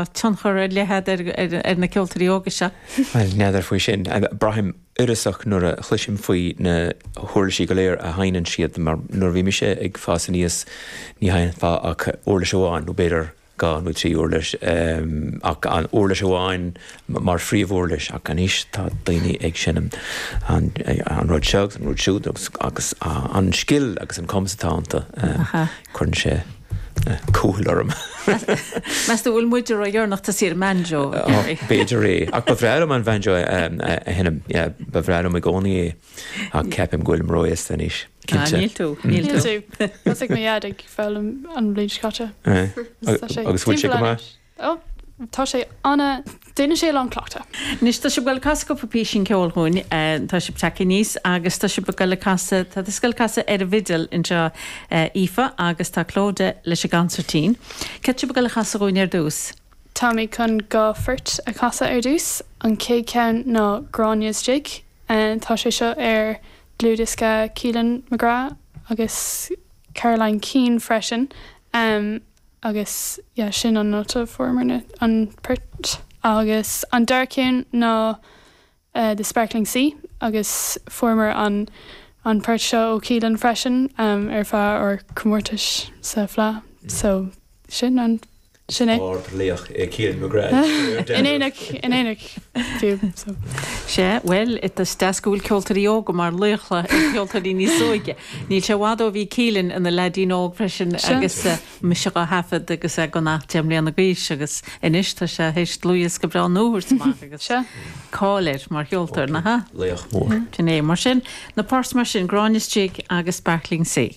tionchar ar leith agat ar na ceoltóirí óga seo. Bhuel, n'fheadar faoi sin. Braithim uireasach nuair a chloisim faoi na huirlisí go léir a sheinneann siad, mar nuair a bhí mise ag fás aníos ní sheinnfeá ach uirlis amháin, nó b'fhéidir 2 nó 3 uirlis, ach an uirlis amháin mar phríomhuirlis, ach anois tá daoine ag seinm an rud seo agus an rud siúd agus an scil agus an cumas atá iontu, cuireann sé cúthail orm. Meas tú bhfuil muide ródheireanach tosaí ar an mbanjo? B'fhéidir é. Ach ba bhreá liom an banjo a sheinm, ba bhreá liom i gcónaí é. Ach ceapaim go bhfuilim ró-aosta anois, cinnte. Níl tú, níl tú. Thosaigh mo dhaid ag foghlaim an bhliain seo caite. Agus bhfuil sé go maith? Ó, tá sé ana, déanann sé a lán cleachtadh. Anois, tá sibh ag goil ag casadh cúpla písín ceoil dhúinn, tá sibh tagtha aníos agus tá sibh ag goil ag casadh, tá tusa ag goil ag casadh ar an bhfidil anseo Aoife agus tá Clodagh leis an gconsairtín. Céard tá sibh ag goil a chasadh dhúinn ar dtús? Táimid chun 2 phort a chasadh ar dtús. An chéad cheann ná Gráinne's Jig. Tá sé seo ar dlúthdhiosca Keelan McGrath agus Caroline Keane freisin. Agus yeah sin an nóta a fuaireamar an port. Agus an dara ceann ná The Sparkling Sea agus fuaireamar an an port seo ó Keelan freisin ar feadh ár comórtais sa Fleadh. So sin an sin é. Ard-laoch é Keelan McGrath. In éineacht in éineacht fiú so. Sea, bhuel, is deas go bhfuil ceoltóirí óga mar laochra ag ceoltóirí níos óige. Níl sé i bhfad ó bhí Keelan ina leaidín óg freisin agus mise dhá thaifead agus é gan ach 10 mbliana d'aois agus anois tá sé théis dlúthdhiosca breá nua a thabhairt amach agus cáil air mar cheoltóir, nach ea? Laoch mór. Sin é. Mar sin, na poirt mar sin, Gráinne's Jig agus Sparkling Sea.